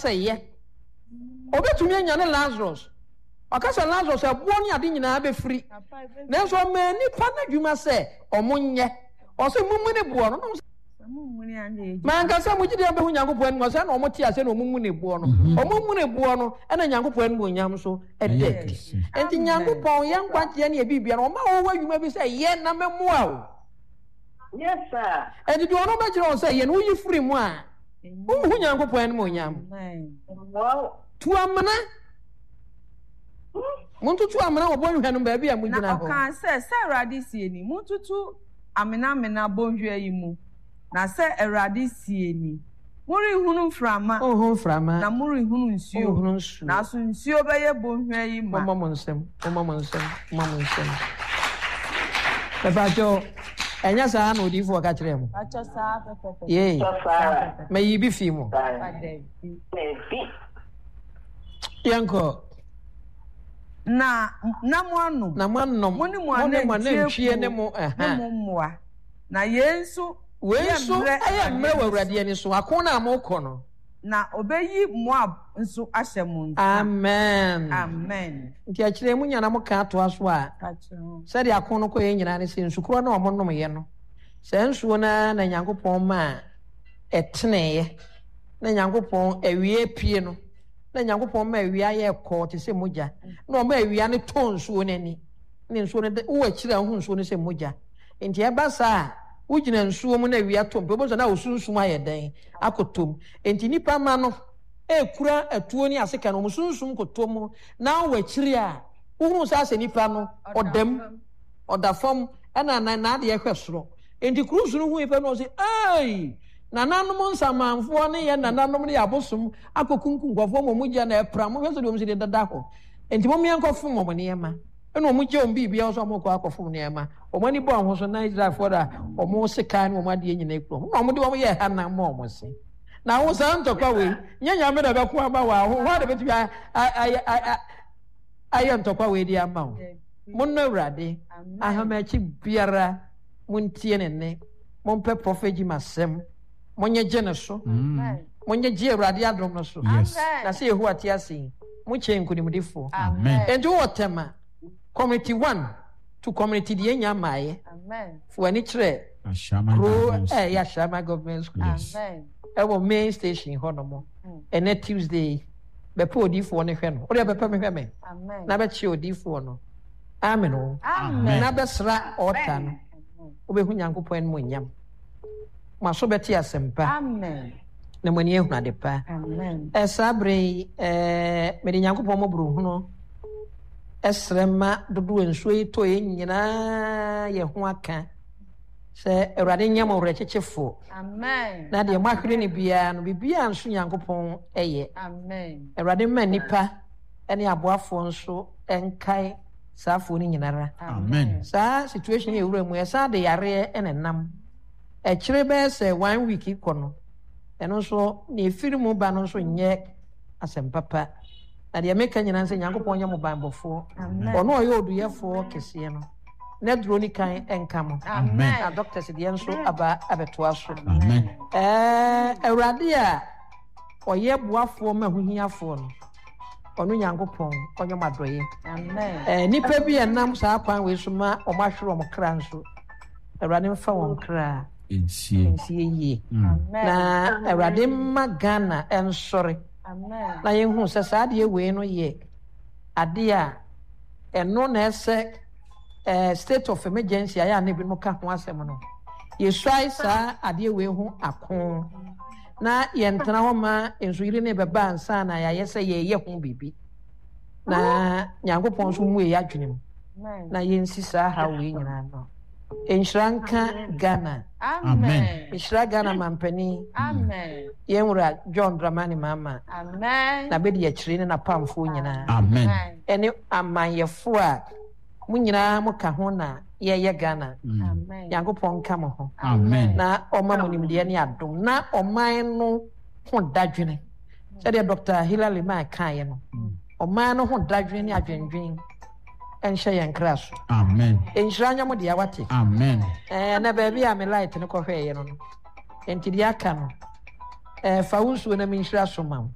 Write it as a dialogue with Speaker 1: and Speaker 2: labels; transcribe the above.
Speaker 1: sɛ yɛ. Ɔbɛtumi anyane Lazarus. Ɔka sɛ Lazarus ɛboɔ ne ade nyinaa bɛfiri. Nanso ɔmaa nnipa no adwuma sɛ ɔmo nyɛ. Ɔsɛ mumuni boɔ no. Manka sɛ mogye di a mobɛhu Nyankopɔn anim, ɔsɛ na wɔn te aseɛ na wɔn mu ne boɔ no. Wɔn mu ne boɔ no, ɛna Nyankopɔn animuonyam nso ɛda adi. Enti Nyankopɔn, yɛn nkwagyeɛ ne yɛn biribiara no, ɔma wɔwɔ adwuma bi sɛ yɛ na mɛmoa wo.
Speaker 2: Yes sir.
Speaker 1: Enti deɛ ɔno bɛkyerɛ wɔn sɛ yɛ no, woyi firi mu a, wonhu Nyankopɔn animuonyam. Tu amena. Montoto amena wɔ bɔnhwa no mu baabi a mogyina
Speaker 3: Na
Speaker 1: hɔ.
Speaker 3: ɔkaa sɛ, Sɛ Awurade seɛ ni, Montoto amenamena bɔnhwa yi mu, na sɛ Awurade seɛ ni, Morenhunu mframa,
Speaker 1: Monhu mframa,
Speaker 3: na morenhunu nsuo,
Speaker 1: monhunu nsuo.
Speaker 3: nanso nsuo bɛyɛ bɔnhwa yi ma.
Speaker 1: Mommɔ mo nsam, mommɔ mo nsam, mommɔ mo nsam. Mepakyɛw, ɛnyɛ saa na odiyifoɔ ka kyerɛɛ mo?
Speaker 3: Pakyɛ saa pɛpɛpɛ.
Speaker 1: Yei,
Speaker 2: Saa ara.
Speaker 1: mayi bi fii mu.
Speaker 2: Saa ara. Dabi.
Speaker 1: Yɛnkɔ.
Speaker 3: Na na moanom.
Speaker 1: Na moanom.
Speaker 3: Mo ne mo anantwie ne mo ne mo mmoa. Na yei nso
Speaker 1: Wei
Speaker 3: yɛ
Speaker 1: nso
Speaker 3: mmerɛ
Speaker 1: yɛ mmerɛ wɔ
Speaker 3: Awurade
Speaker 1: Awurade
Speaker 3: ani
Speaker 1: ani so, ako no a morekɔ no.
Speaker 3: Na ɔbɛyi Moab nso ahyɛ mo nsa.
Speaker 1: Amen.
Speaker 3: Amen.
Speaker 1: Nti akyire yi monya na moka atoa so a, sɛdeɛ ako no kɔeɛ nyinaa ne sɛ nsukorɔ no a wɔnomeeɛ no, saa nsuo no ara na Nyankopɔn maa ɛteneeɛ, na Nyankopɔn awia apue no, na Nyankopɔn maa awia yɛɛ kɔɔ te sɛ mogya, na ɔmaa awia no tɔɔ nsuo no ani, na nsuo no, wowɔ akyiri a wohu nsuo no sɛ mogya. Nti ɛba saa a, wogyina nsuo mu na awia tɔ mu pɛ, wobɛhu sɛ na wo sunsum ayɛ dɛn? Akɔtɔ mu. Nti nnipa mma no ɛrekura atuo ne asekan, wɔn sunsum kɔtɔ mu, na wowɔ akyiri a, wohunu sɛ asɛ nipa no, ɔda mu, ɔda fam, ɛna n'adeɛ hwɛ soro. Nti Cruz no hui pɛ na ɔse, Ei! Nananom nsamanfoɔ ne yɛn nananom ne yɛn abosom akɔkunkum nkurɔfoɔ ma wɔn gya na ɛpra. Monhwɛ sɛdeɛ wɔn si de deda hɔ. Enti mom yɛnkɔfom wɔn nneɛma. Ɛna wɔn gya wɔn biribiara sɛ wɔrekɔ akɔfom nneɛma. Wɔn ani bɔɔ ho so na Israelfoɔ da wɔn sekan ne wɔn adeɛ nyinaa kura wɔn. Na wɔde wɔn yɛɛ hanam ma wɔn se. Na wo saa ntɔkwa wei, nyɛ Nyame na ɛbɛko ama wo a, hwan na bɛtumi ayɛ ntɔkwa wei de ama wo? Monnɔ Awurade ahamakyi biara, montie ne nne. Mompɛ Prophet Jim asɛm. Monyegye no so. Monyegye Awurade adom no so. Na sɛ Yehowa te ase yi, mo kyɛn nkonimdifoɔ. Enti wowɔ Tema, Community 1 to Community deɛ nya mmaeɛ. Fa w'ani kyerɛ kuro a ɛyɛ Ashaiman Government School ɛwɔ main station hɔ nom. Ɛnɛ Tuesday yi, bɛpɛ odiyifoɔ no hwɛ no. Wodeɛ bɛpɛ me hwɛ me. Na bɛkyerɛ odiyifoɔ no. Amen o. Na bɛsra altar no. Wobɛhu Nyankopɔn animuonyam. Mo aso bɛte asɛmpa. Na mo ani ahunu ade pa. Saa berɛ yi, mede Nyankopɔn mmɔborɔhunu srɛ ma dodoɔ nsuo yi tɔeɛ nyinaa yɛ ho aka sɛ Awurade nyɛ mo werɛkyekyefoɔ. Na deɛ moahwere no biara no, biribiara nso Nyankopɔn yɛ. Awurade mma nnipa ne aboafoɔ nso nkae saa afoɔ no nyinara.
Speaker 4: Amen.
Speaker 1: Saa situation yɛ wura mu ɛsan de yareɛ na ɛnam. Ɛkyere bɛyɛ sɛ one week kɔ no, ɛno nso nea ɛfiri mu ba no nso nyɛ asɛm papa. Na deɛ meka nyinaa sɛ Nyankopɔn nyɛ mo banbɔfoɔ. Ɔno a ɔyɛ oduyɛfoɔ kɛseɛ no, n'aduro ne kan nka mo.
Speaker 4: Amen.
Speaker 1: Na doctors deɛ nso aba abɛtoa so.
Speaker 4: Amen.
Speaker 1: Ɛɛ Awurade a ɔyɛ boafoɔ ma ahohiafoɔ no, ɔno Nyankopɔn ɔnyɛ mo adɔeɛ. Ɛɛ nnipa bi a ɛnam saa kwan wei so ma wɔn ahwere wɔn kra nso, Awurade mfa wɔn kra
Speaker 4: Nsie.
Speaker 1: nsie yie. Na Awurade mma Ghana nsɔre na yɛnhu sɛ saa adeɛ wei no yɛ adeɛ a ɛno na ɛsɛ ɛɛ state of emergency a yɛ a na ebinom ka ho asɛm no. Yɛsuae saa adeɛ wei ho ako na yɛntena hɔ ma nsuyiri no rebɛba ansa na yɛayɛ sɛ yɛreyɛ ho biribi. Na Nyankopɔn nso mmue yɛn adwene mu na yɛnsi saa haw wei nyinaa no. Nhyira nka Ghana.
Speaker 4: Amen.
Speaker 1: Nhyira Ghana mampanin.
Speaker 3: Amen.
Speaker 1: Yɛn wura John Dramani Mahama.
Speaker 3: Amen.
Speaker 1: N'abedi akyire ne n'apamfoɔ nyinaa.
Speaker 4: Amen.
Speaker 1: Ɛne amanyɛfoɔ a mo nyinaa mo ka ho na yɛyɛ Ghana. Nyankopɔn nka mo ho.
Speaker 4: Amen.
Speaker 1: Na ɔma mo nimdeɛ ne adom na ɔman no ho dadwene. Sɛdeɛ Dr. Hilla Limann kaeɛ no, ɔman no ho dadwene ne adwendwen nhyɛ yɛn kra so.
Speaker 4: Amen.
Speaker 1: Nhyira nyɛ mo dea wate.
Speaker 4: Amen.
Speaker 1: Ɛɛ na baabi a me light no kɔhwɛeɛ no no, nti deɛ aka no, ɛɛ fa wo nsuo na menhyira so ma wo.